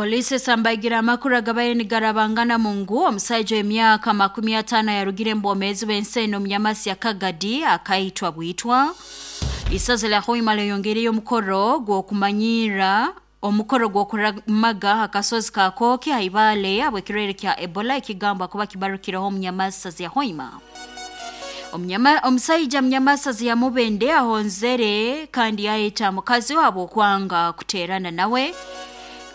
Polisi esambaigira amakuru agabaire nigarabangana mungu omusaija w'emyaka 50 yarugire mu bwomeezi bw'ensi eno omunyamasi ya Kagadi akaitwa bwitwa. Isaza lya Hoima lyeyongereyo omukoro gw'okumanyirra omukoro gw'okuramaga akasozi ka Kooki haibale habw'ekirwaire kya Ebola ekigambwa kuba kibarukireho omunyamasazi ya Hoima. Omusaija munyamasazi ya Mubende ahonzere kandi yayeta mukazi we habw'okwanga kuteerana nawe.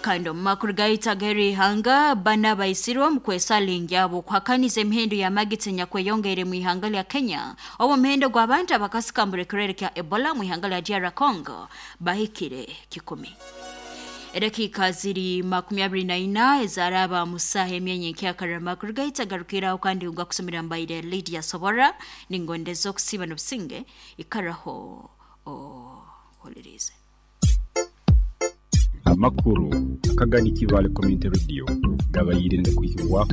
Kandi omu makuru gaitu ag'erihanga, bana baisirwe omu kwesalingi abo okuhakaniza emihendo y'amagita enyakweyongeire mu ihanga lya Kenya, obu omuhendo gw'abantu abakasikambura ekirwaire kya Ebola mu ihanga lya DR Congo bahikire 1,000. Edakiika ziri 24 ezaraba mu saaha emyanya enkyakara. Amakuru gaitu agarukiraho kandi ngakusomera mbaire Lydia Sobora, ningondeza okusiiba n'obusinge, ikaraho ohuliriize. Amakuru akagani Kibaale Community Radio gabaire nigakwihibwaho.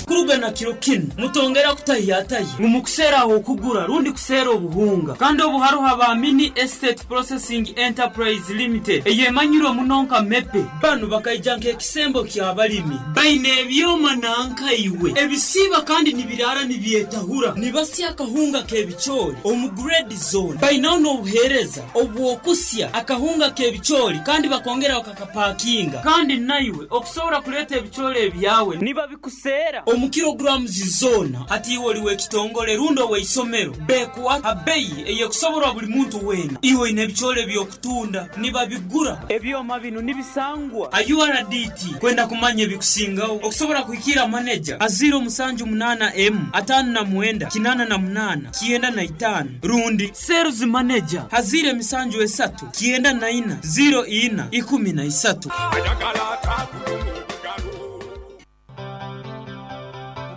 Kuruga na kiro kinu, mutongera kutahiyatahya ngu mukuseera ah'okugura rundi kuseera obuhunga. Kandi obu haroho aba Mini Estate Processing Enterprise Limited eyemanyirwe muno nka MEPE. Banu bakaija nk'ekisembo ky'abalimi. Baine ebyoma nanka iwe ebisiiba kandi nibiraara nibyetahura. Nibasya akahunga k'ebicoori omu grade zoona. Bainaho n'obuheereza obw'okusya akahunga k'ebicoori kandi bakongera bakakapakinga. Kandi naiwe okusobora kuleeta ebicoori ebyawe nibabikuseera omu kilograms zoona. Hati iwe oli w'ekitongole rundi ow'eisomero, bekuha ha beyi ey'ekusoborwa buli muntu weena. Iwe oine ebicoori eby'okutunda, nibabigura. Ebyoma binu nibisangwa ha URDT. Kwenda kumanya ebikusingaho, okusobora kuhikiira maneja ha 078 emu 59 88 95 rundi Sales Manager ha 073 94 04 13.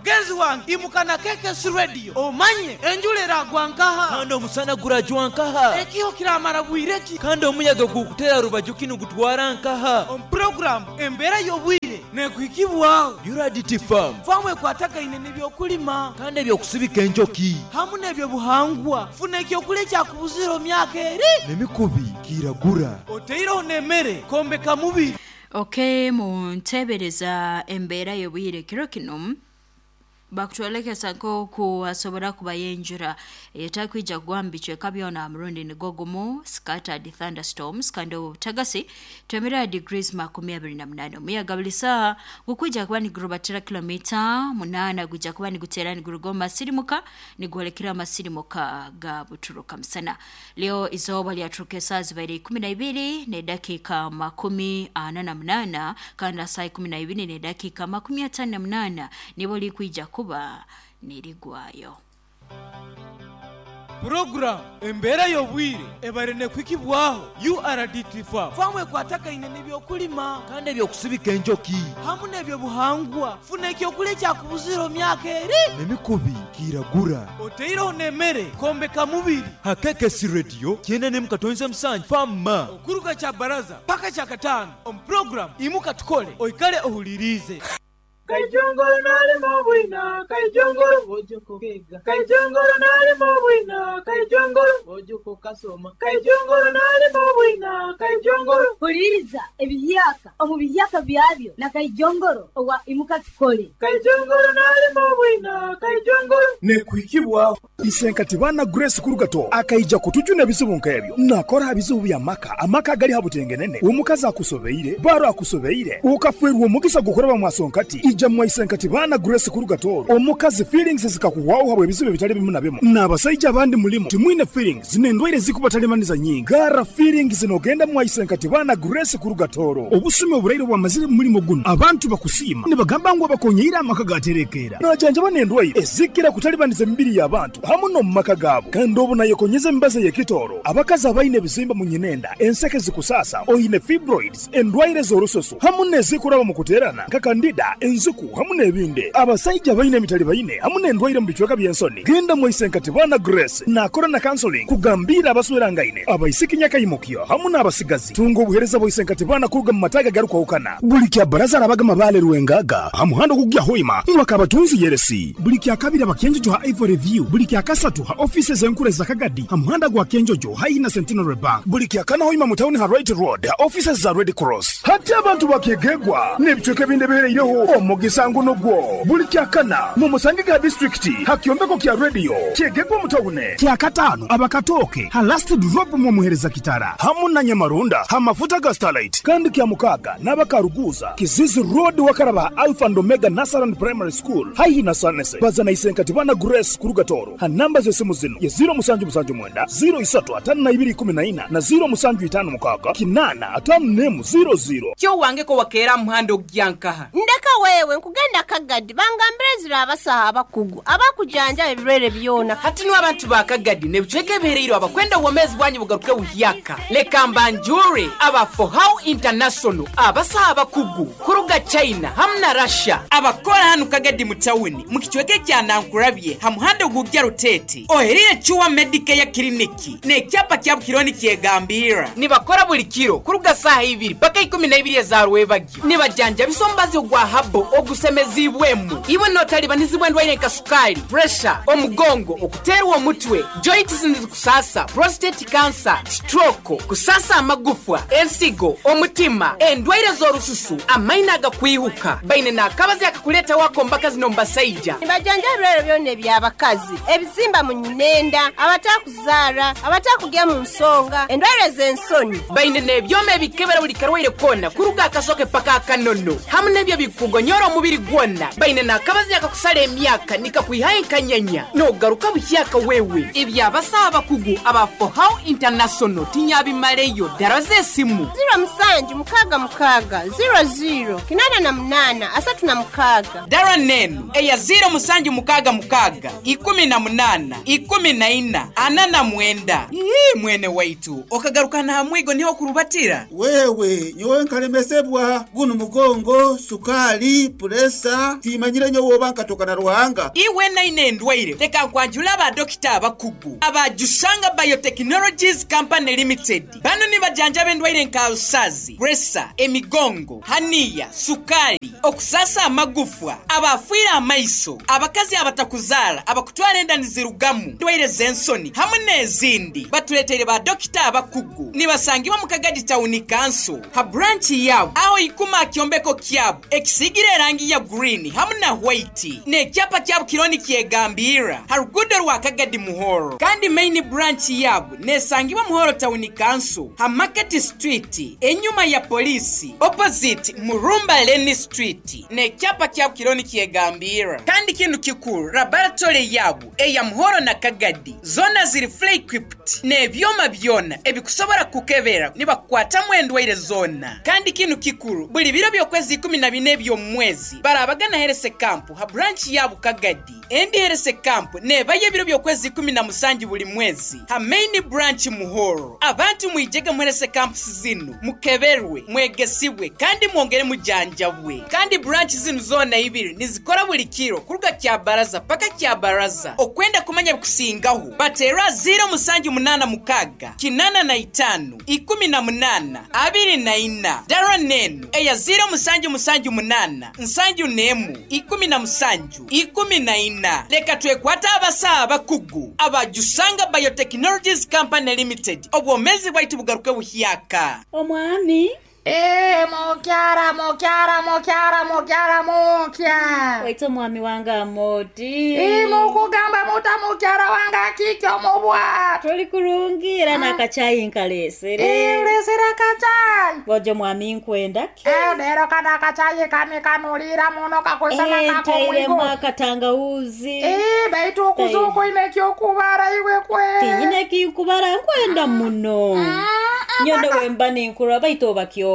Mugenzi wange imuka na KKC Radio omanye enjura eragwa nkaha? Kandi omusana gurajwa nkaha? Ekiho kiramara bwire ki? Kandi omuyaga gukutera rubaju ki nigutwara nkaha? Omu puroguramu Embeera y'Obwire nekuhikibwaho. URDT Farm. Faamu ekwatagaine n'eby'okulima. Kandi eby'okusibika enjoki. Hamu n'eby'obuhangwa. Funa eky'okulya ekyakubuzire omu myaka eri. N'emikubi kiiragura. Oteireho n'emere kwombeka mubiri. Ok, muntebereza embeera y'obwire kiro kinu. Bakutwolekesa nk'oku hasobora kubayo enjura eyetakwija kugwa mu bicweka byona ha murundi nigwo gumu, scattered thunderstorms, kandi obu obutagasi twemerera ha degrees 28. Omuyaga buli saaha gukwija kuba nigurubatira kilomita 8, gwija kuba niguteera niguruga omu masirimuka nigwolekera amasirimuka ga buturuka musana. Lyo izooba lyaturuka esaaha zibaire 12 n'edakiika 48, kandi ha saaha 12 n'edakiika 58 nibwo likwija kuba nirigwayo. Puroguramu Embeera y'Obwire ebaire nekuhikibwaho URDT Farm. Faamu ekwatagaine n'ebyokulima. Kandi eby'okusibika enjoki. Hamu n'ebyobuhangwa. Funa ekyokulya ekyakubuzire omu myaka eri. N'emikubi kiiragura. Oteireho n'emere kwombeka mubiri. Ha KKC Radio 97.7 Farm. Okuruga Kyabaraza paka Kyakataano omu puroguramu Imuka Tukole oikale ohuliriize. Kaijongoro nalima obwina, Kaijongoro Bojuka okega, Kaijongoro nalima obwina, Kaijongoro Bojuka okasoma, Kaijongoro nalima obwina, Kaijongoro. Huliriza ebihyaka omu bihyaka byabyo na Kaijongoro owa Imuka Tukole. Kaijongoro nalima obwina, Kaijongoro. Nekuhikibwaho. Isenkati baana Grace Kurugato akaija kutujuna ebizibu nk'ebyo. Nakora aha bizibu by'amaka, amaka agali ha butengenene, omukazi akusobeire, baro akusobeire, okafeerwa omugisa gw'okuraba mwasonkati, ija mwa Isenkati baana Grace Kurugato, omukazi feelings zikakuhwaho habw'ebizibu ebitali bimu na bimu. N'abasaija abandi mulimu timwine feelings n'endwaire ezikubatalibaniza nyingi. Garra feelings n'ogenda mwa Isenkati baana Grace Kurugatoro. Obusumi oburaire obwamazire mu mulimo gunu, abantu bakusiima nibagamba ngu abakonyeire amaka gaterekeera. Najanjaba n'endwaire ezikira kutalibaniza emibiri y'abantu hamu n'omu maka gaabo. Kandi obu nayekonyeza emibazi ey'ekitooro, abakazi abaine ebizimba mu nyinenda, enseke zikusaasa, oine fibroids, endwaire z'orususu hamu n'ezikuraba mu kuteerana nka kandida, enzo. enziku hamu n'ebindi. Abasaija abaine emitalibaine hamu n'endwaire mu bicweka by'ensoni, genda mwa Isenkatibana Grace naakora na counseling kugambiira abaswerangaine, abaisiki nyakaimukyo hamu n'abasigazi. Tunga obuheereza bwa Isenkatibana kuruga mu mataagi agarukwahukana. Buli kya baraza arabaga Mabale Rwengaga ha muhanda ogukugya Hoima mwa Kabatunzi Yeresi. Buli kya kabiri aba Kyenjojo ha Ivory View. Buli kya kasatu ha ofiisi ez'enkuru eza Kagadi ha muhanda gwa Kyenjojo haihi na Centenary Bank. Buli kya kana Hoima mu tawuni ha Wright Road ha ofiisi za Red Cross. Hati abantu ba Kyegegwa n'ebicweka ebindi ebihereireho omugisa ngu nugwo. Buli kya kana mumusangege ha disiturikiti ha kyombeko kya rediyo Kyegegwa mu tawuni. Kya kataano aba Katooke ha Last Drop mwa Muhereza Kitara hamu na Nyamarunda ha mafuta ga Starlight. Kandi kya mukaaga n'aba Karuguuza, Kizizi Road wakaraba ha Alpha and Omega Nursery and Primary School haihi na Sanese. Baza na Isenkatibana Grace kuruga Tooro ha namba z'esimu zinu ye 0779 03 5214 na 0756 851 00. Kyo wange ko wakeera muhanda ogyankaha. Ndeka wewe nkugenda Kagadi bangambire zira abasaha abakugu abakujanjaba ebirwere byona. Hati niwe abantu ba Kagadi n'ebicweka ebihereirwe abakwenda obwomeezi bwanyu bugaruke buhyaka. Leka mbanjure aba For How International abasaha abakugu kuruga China hamu na Russia abakora hanu Kagadi mu tawuni mu kicweka kya Nankurabye ha muhanda ogujya Rutete oherire Chuwa Medicare Clinic n'ekyapa kya Bukironi kyegambira nibakora buli kiro kuruga saha ibiri paka 12 za rwebagyo nibajanja bisombazi ogwa habo ogusemezibwemu iwe notalibanizibwa endwaire nka sukali, pressure, omugongo, okuterwa omutwe, joints nizikusasa, prostate cancer, stroke, kusasa amagufwa, ensigo, omutima, endwaire z'orususu, amaino agakwihuka. Baine n'akabazi akakuleta wako mbaka zino mbasaija. Nibajanja ebirwere byona eby'abakazi, ebizimba mu nyinenda, abatakuzaara, abatakugya mu nsonga, endwaire z'ensoni. Baine n'ebyoma ebikebera buli karwaire kona kuruga akasoke paka akanono hamu n'ebyo bikugonyora omubiri gwona. Baine n'akabazi akakusala emyaka nikakwihayo enkanyanya n'ogaruka buhyaka wewe. Ebyabasaha abakugu aba For How International tinyabimaleyo. Dara z'esimu 0766 00 88 36. Dara nenu eya 0766 18 14 49. Ii mwene waitu okagaruka na mwigo niho kurubatira. Wewe nyowe nkalemesebwa guno mugongo, sukali, puresa, timanyire nyowe oba nkatoka na Ruhanga. Iwe naine endwaire leka nkwanjula aba dokita abakugu aba Jusanga Biotechnologies Company Limited. Bano nibajanjaba endwaire nka alusazi, puresa, emigongo, haniya, sukali, okusasa amagufwa, abafiire amaiso, abakazi abatakuzaara, abakutwara enda nizirugamu, endwaire z'ensoni hamwe n'ezindi. Batuleteire ba dokita abakugu nibasangibwa mu Kagadi Town Council ha branch yabo aho ikuma kyombeko kyabo ekisigire erangi ya green hamwe na white n'ekyapa kyabo kironi kyegambira ha rugudo rwa Kagadi Muhoro. Kandi main branch yabo nesangibwa Muhoro Town Council ha Market Street enyuma ya polisi opposite Murumba Lane Street n'ekyapa kyabo kironi kyegambira. Kandi kintu kikuru laboratory yabo eya Muhoro na Kagadi zona ziri fully equipped n'ebyoma byona ebikusobora kukebera nibakukwatamu endwaire zona. Kandi kintu kikuru buli biro by'okwezi 14 eby'omwezi barabagana Herese Camp ha branch yabo Kagadi. Endi Herese Camp nebaye ebiro by'okwezi 17 buli mwezi ha main branch Muhoro. Abantu mwijege mu Herese Camp zinu mukeberwe, mwegesibwe kandi mwongere mujanjabwe. Kandi branch zinu zona ibiri nizikora buli kiro kuruga kya baraza paka kya baraza. Okwenda kumanya bikusingaho batera 0786 85 18 24. Dara nenu eya 0778 71 17 14. Leka twekwata abasaha abakugu aba Jusanga Biotechnologies Company Limited. Obwomezi bwaitu bugaruke buhyaka. Omwami Mukyara mukyara mukyara mukyara mukya. Waita mwami wange amoti. Mukugamba muta mukyara wange akikyo mubwa. Tuli kurungira n'akachayi nkalesere. Ulesere akachayi. Bojo mwami nkwenda ki. Lero kana akachayi kanikanulira muno kakusana kako Ntairemu akatangawuzi. Baitu okuzuko ine kyokubara iwe kwe. Tinyine kikubara nkwenda muno. Nyondo wemba ninkura baito bakyoma.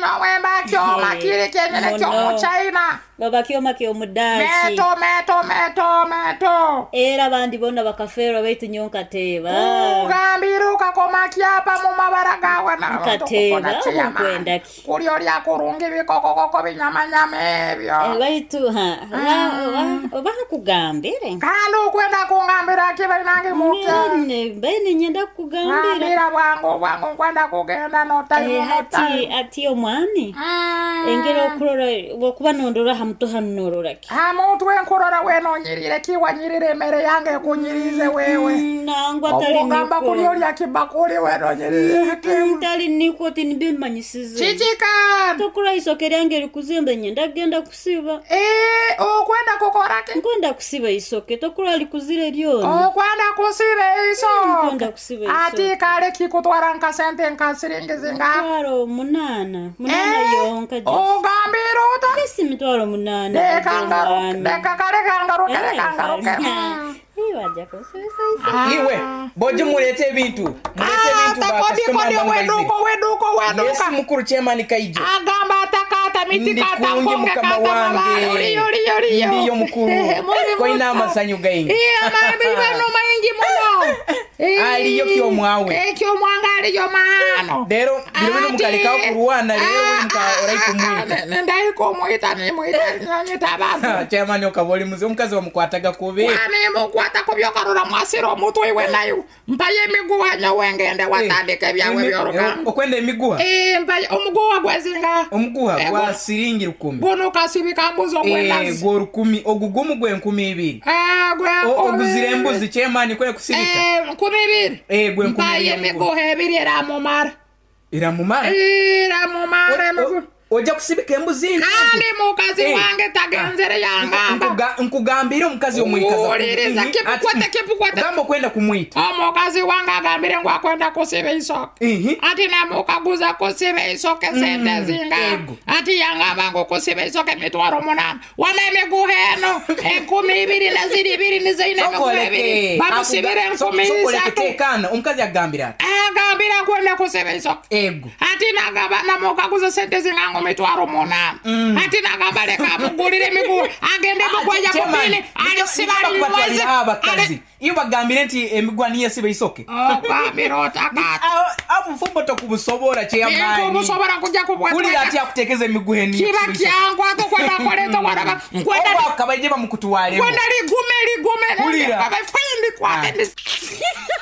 No wemba kyoma kiri kyenyene ky'omuchina. Baba kyoma ky'omudaaki. Meto meto meto meto. Era abandi bonna bakafeerwa baitu nyo nkateeba. Ugambira ukakoma kyapa mu mabara gawe na Nkateeba okwenda ki? Kuli olya kurungi bikokokoko binyamanyama ebyo. Baitu ha oba nkugambire. Kandi okwenda kungambira ki bainange muke? Bene nyenda kukugambira. Ngambira bwangu bwangu nkwenda kugenda notayimu Ati ati omwami. Engeri okurora bwokuba nondora hamuto hanu norora ki? Hamutwe nkurora wenonyirire kiwanyirire emere yange ekunyirize wewe. Nangwa tali Ogamba niko. kuli olya kibakuli wenonyirire. Tali niko tinibimanyisize. Chichika. Tokura isoke lyange likuzimba nyenda kugenda kusiba. Okwenda kukora ki? Nkwenda kusiba isoke tokura likuzire lyona. Okwenda kusiba isoke. Nkwenda kusiba isoke. Ati kale kikutwara nka sente nka siringi zinga. Mitwaro 8. 8 yonka. Ogambira ota? Esi mitwaro 8. Deka kale kangaruke kangaruke. Iwajja kusibisa isoke. Iwe boje mulete ebintu. Mulete ebintu ba customer Kodi bangu weduko weduko weduka. Yes mukuru chairman Kaijo. Agamba atakata miti kata Ndikungi nkonge mukama kata mabale. wange. Oliyo oliyo oliyo. Ndiyo mukuru. Koina amasanyu gaingi. Iya mabi bano maingi muno. Aliyo kyomwawe. Kyomwanga aliyo maano. Lero biro bino mukalekawo kurwana lero buli muka oraikumwita. Ndaikumwita nimwita nyita abantu. Chairman okaba oli muzi omukazi wamukwataga kubi. Wanimukwata kubyokarora mwasira omutwe iwe nayo. Mpaye emiguwa nyowe ngende watandika ebyawe by'orugamba. Okwenda emiguwa? Mpaye omuguwa gwezinga. Omuguwa gwa siringi 10. Guno kasibika mbuzi ogwendazi. Gwo 10 ogugumu gwe 2000. Gwe oguzira embuzi chairman kwe kusibika. 2000. Gwe 2000. Mpaye emiguwa ebiri eramumara. Iramumara? Iramumara emiguwa. Ojja kusibika embuzi nti. Kandi mukazi wange tagenzere yangamba. Nkugambire omukazi omwikaza. Uliriza kipukwate kipukwate. Gamba okwenda kumwita. Omukazi wange agambire ngu akwenda kusiba isoke. Ati namukaguza kusiba isoke sente zinga. Ati yangamba ngu kusiba isoke mitwaro 8. Wama emiguha eno 2000 na ziri 2 nizeine emiguha 2. Bamusibire 3000. Tekana omukazi agambira ati. Agambira kwenda kusiba isoke. Ego. Ati nagamba namukaguza sente zinga ngu mitwaro 8. Ati nagamba leka mugulire emiguha agende mugwaja kupini alisiba limweze. Abakazi iyo bagambire nti emiguha niyo siba isoke. Ogambira otakata. Amufumbo tokubusobora chairman. Nkubusobora kujja kubwatweka. Kulira ati akutekeze emiguha eniyo. Kiba kyangu atokwenda koleta waraba. Nkwenda akabaije bamukutuwalemo. Nkwenda ligume ligume. Kulira. Abafendi kwate.